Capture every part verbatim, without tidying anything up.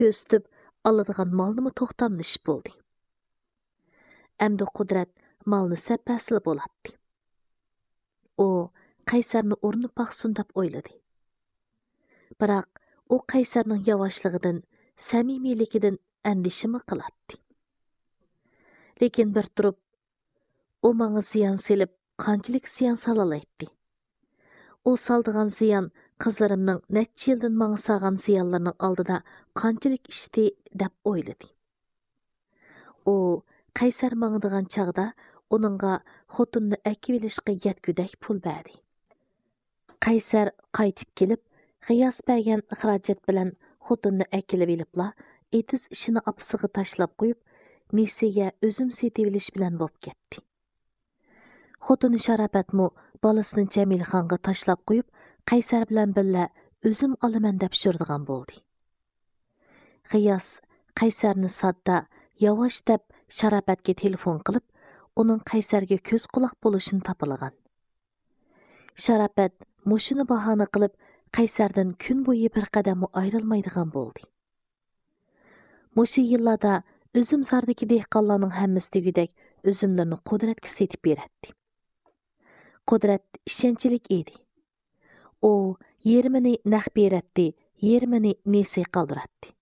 كۆرسىتىپ، ئالىدىغان مالنىمۇ توختاملىشىپ بولدى. ئەمدى قۇدرەت مالنى سەپەسىلا بولاتتى. ئۇ قەيسەرنى ئۇرۇنۇپ باقسۇن دەپ ئويلىدى. بىراق ئۇ قەيسەرنىڭ ياۋاشلىقىدىن، سەمىمىيلىكىدىن ئەندىشىمۇ قىلاتتى. لېكىن بىر تۇرۇپ، ئۇ ماڭا زىيان سېلىپ، قانچىلىك زىيان سالالايتتى؟ ئۇ سالىدىغان زىيان قىزلىرىمنىڭ نەچچە يىلدىن ماڭا سالغان زىيانلىرىنىڭ ئالدىدا قانچىلىك ئىشتى، دەپ ئويلىدى. ئۇ قەيسەر ماڭىدىغان چاغدا ئۇنىڭغا خوتۇننى ئەكىۋېلىشقا يەتكۈدەك پۇل بەردى. قەيسەر قايتىپ كېلىپ، غىياس بەرگەن خىراجەت بىلەن خوتۇننى ئەكېلىۋېلىپلا، ئېتىز ئىشىنى ئاپىسىغا تاشلاپ قويۇپ، نېسىگە ئۈزۈم سېتىۋېلىش بىلەن بوپ كەتتى. خوتۇنى شاراپەتمۇ بالىسىنى جەمىلىخانغا تاشلاپ قويۇپ، قەيسەر بىلەن بىللە ئۈزۈم ئالىمەن دەپ يۈرىدىغان بولدى. غىياس قەيسەرنى ساددا، ياۋاش دەپ شاراپەتكە تېلېفون قىلىپ، ئۇنىڭ قەيسەرگە كۆز-قۇلاق بولۇشىنى تاپىلىغان. شاراپەت مۇشۇنى باھانە قىلىپ، قەيسەردىن كۈن بويى بىر قەدەممۇ ئايرىلمايدىغان بولدى. مۇشۇ يىللاردا ئۈزۈمزاردىكى دېھقانلارنىڭ ھەممىسى دېگۈدەك ئۈزۈملىرىنى قۇدرەتكە سېتىپ بېرەتتى. قۇدرەت ئىشەنچلىك ئىدى. ئۇ يېرىمىنى نەق بېرەتتى، يېرىمىنى نېسى قالدۇراتتى.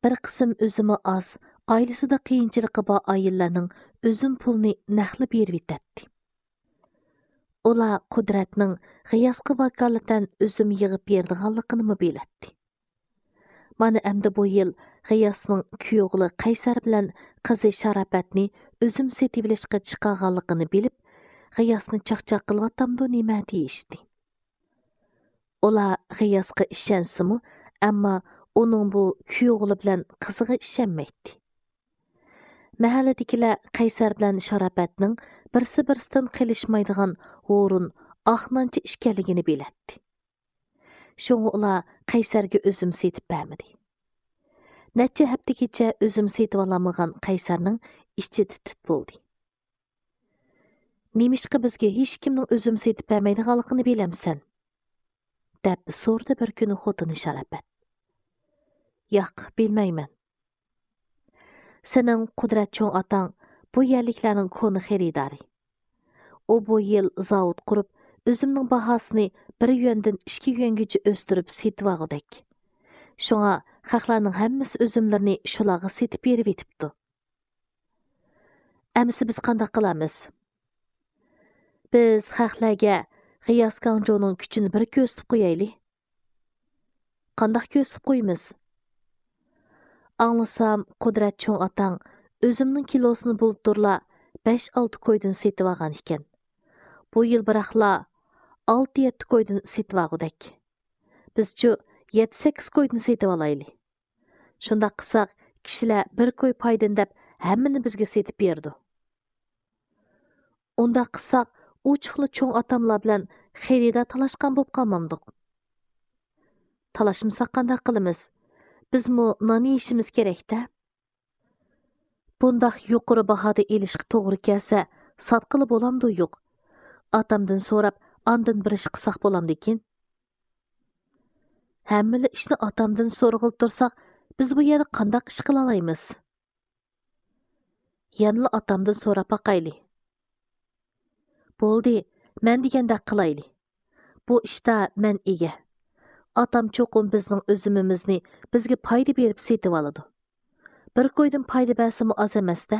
بىر قىسىم ئۈزۈمى ئاز، ئائىلىسىدە قىيىنچىلىقى بار ئائىلىلەرنىڭ ئۈزۈم پۇلىنى نەقلا بېرىۋېتەتتى. ئۇلار قۇدرەتنىڭ غىياسقا ۋاكالىتەن ئۈزۈم يىغىپ بېرىدىغانلىقىنىمۇ بىلەتتى. مانا ئەمدى بۇ يىل غىياسنىڭ كۈيئوغلى قەيسەر بىلەن قىزى شاراپەتنى ئۈزۈم سېتىۋېلىشقا چىقارغانلىقىنى بىلىپ، غىياسنى چاقچاق قىلىۋاتامدۇ نېمە دېيىشتى. ئۇلار غىياسقا ئىشەنسىمۇ، ئەمما ئۇنىڭ بۇ كۈيئوغلى بىلەن قىزىغا ئىشەنمەيتتى. مەھەللىدىكىلەر قەيسەر بىلەن شاراپەتنىڭ بىرسى-بىرسىدىن قېلىشمايدىغان ھۇرۇن، ئاق نانچە ئىكەنلىكىنى بىلەتتى. شۇڭا ئۇلار قەيسەرگە ئۈزۈم سېتىپ بەرمىدى. نەچچە ھەپتىگىچە ئۈزۈم سېتىۋالالمىغان قەيسەرنىڭ ئىچى تىت-تىت بولدى. «نېمىشقا بىزگە ھېچكىمنىڭ ئۈزۈم سېتىپ بەرمەيدىغانلىقىنى بىلەمسەن؟» دەپ سورىدى بىر كۈنى خوتۇنى شاراپەت. «ياق، بىلمەيمەن.» «سېنىڭ قۇدرەت چوڭ ئاتاڭ بۇ يەرلىكلەرنىڭ كونا خېرىدارى. ئۇ بۇ يىل زاۋۇت قۇرۇپ، ئۈزۈمنىڭ باھاسىنى بىر يۈەندىن ئىككى يۈەنگىچە ئۆستۈرۈپ سېتىۋالغۇدەك. شۇڭا خەقلەرنىڭ ھەممىسى ئۈزۈملىرىنى شۇلارغا سېتىپ بېرىۋېتىپتۇ.» «ئەمىسە بىز قانداق قىلارمىز؟» «بىز خەقلەرگە غىياس گاڭجۇنىڭ كۈچىنى بىر كۆرسىتىپ قويايلى.» «قانداق كۆرسىتىپ قويىمىز؟» «ئاڭلىسام، قۇدرەت چوڭ ئاتاڭ ئۈزۈمنىڭ كىلوسىنى بۇلتۇرلا بەش-ئالتە كويدىن سېتىۋالغان ئىكەن. بۇ يىل بىراقلا ئالتە-يەتتە كويدىن سېتىۋالغۇدەك. بىزچۇ يەتتە-سەككىز كويدىن سېتىۋالايلى. شۇنداق قىلساق، كىشىلەر بىر كوي پايدىنى دەپ ھەممىنى بىزگە سېتىپ بېرىدۇ.» «ئۇنداق قىلساق، ئوچۇقلا چوڭ ئاتاملار بىلەن خېرىدار تالاشقان بولۇپ قالمامدۇق؟» «تالاشمىساق قانداق قىلىمىز؟ بىزمۇ نان يېيىشىمىز كېرەك-دە.» «بۇنداق يۇقىرى باھادا ئېلىشقا توغرا كەلسە، ساتقىلى بولامدۇ يوق؟ ئاتامدىن سوراپ، ئاندىن بىر ئىش قىلساق بولامدىكىن؟» «ھەممىلا ئىشنى ئاتامدىن سورىغىلى تۇرساق، بىز بۇ يەردە قانداق ئىش قىلالايمىز؟» «يەنىلا ئاتامدىن سوراپ باقايلى.» «بولدى، مەن دېگەندەك قىلايلى. بۇ ئىشتا مەن ئىگە. ئاتام چوقۇم بىزنىڭ ئۈزۈمىمىزنى بىزگە پايدا بېرىپ سېتىۋالىدۇ. بىر كويدىن پايدا بەرسىمۇ ئاز ئەمەس-دە.»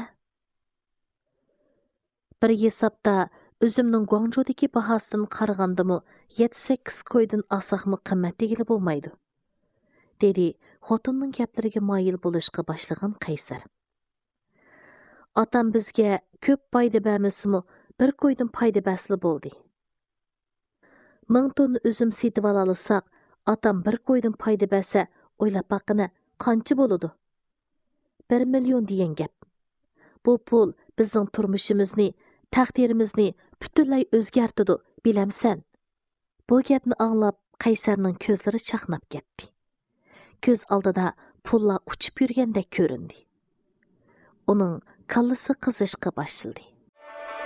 «بىر ھېسابتا ئۈزۈمنىڭ گۇاڭجۇدىكى باھاسىدىن قارىغاندىمۇ يەتتە-سەككىز كويدىن ئالساقمۇ قىممەت دېگىلى بولمايدۇ»، دېدى خوتۇننىڭ گەپلىرىگە مايىل بولۇشقا باشلىغان قەيسەر. «ئاتام بىزگە كۆپ پايدا بەرمىسىمۇ، بىر كويدىن پايدا بەرسىلا بولدى. مىڭ توننا ئۈزۈم سېتىۋالالىساق، ئاتام بىر كويدىن پايدا بەرسە، ئويلاپ باققىنە، قانچە بولىدۇ؟ بىر مىليون دېگەن گەپ. بۇ پۇل بىزنىڭ تۇرمۇشىمىزنى، تەقدىرىمىزنى پۈتۈنلەي ئۆزگەرتىدۇ، بىلەمسەن؟» بۇ گەپنى ئاڭلاپ، قەيسەرنىڭ كۆزلىرى چاقناپ كەتتى. كۆز ئالدىدا پۇللار ئۇچۇپ يۈرگەندەك كۆرۈندى. ئۇنىڭ كاللىسى قىزىشقا باشلىدى.